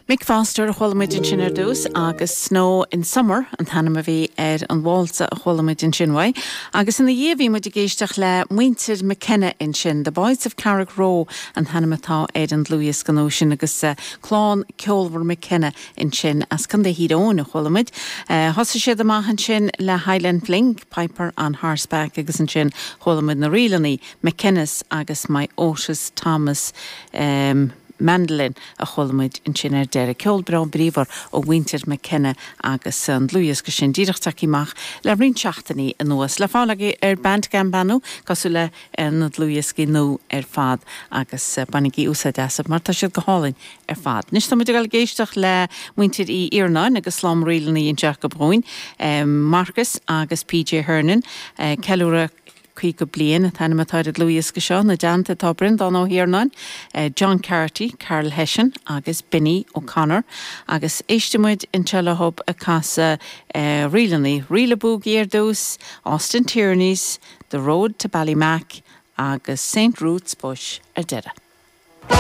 Mick Foster a chuala muid ansin ar dtús agus Snow in Summer an t-ainm a bhí ar an válsa a chuala muid ansin uaidh. Agus ina dhiaidh bhí muid ag éisteacht le muintir McKenna ansin, The Boys of Carrickroe an t-ainm atá ar an dlúthdhiosca nua sin agus clann ceolmhar McKenna ansin as Contae Thír Eoghain a chuala muid. Thosaigh siad amach ansin le Highland Fling, Piper on Horseback agus ansin chuala muid na ríleanna McKenna's agus My Otis Thomas Mandolin a chuala muid ansin ar deireadh. Ceol breá bríomhar ó mhuintir McKenna agus an dlúthdhiosca sin díreach tagtha amach le roinnt seachtainí anuas. Le fáil agaibh ar Bandcamp ar ndóigh, cosúil le na dlúthdhioscaí nua ar fad agus bainigí úsáid astu mar tá siad go hálainn ar fad. Anois tá muid ag dul ag éisteacht le muintir Uí Iarnáin agus slám ríleanna anseo acu dhúinn, Marcus agus PJ Hernon, ceiliúradh 50 bliain an t-ainm atá ar an dlúthdhiosca seo, ina dteannta tá Breandán Ó hIarnáin, John Carty, Karl Hession agus Benny O'Connor agus éistfidh muid anseo leo ag casadh ríleanna, Ríle Boogie ar dtús, Austin Tierney's, The Road to Ballymac agus Saint Ruth's Bush ar deireadh.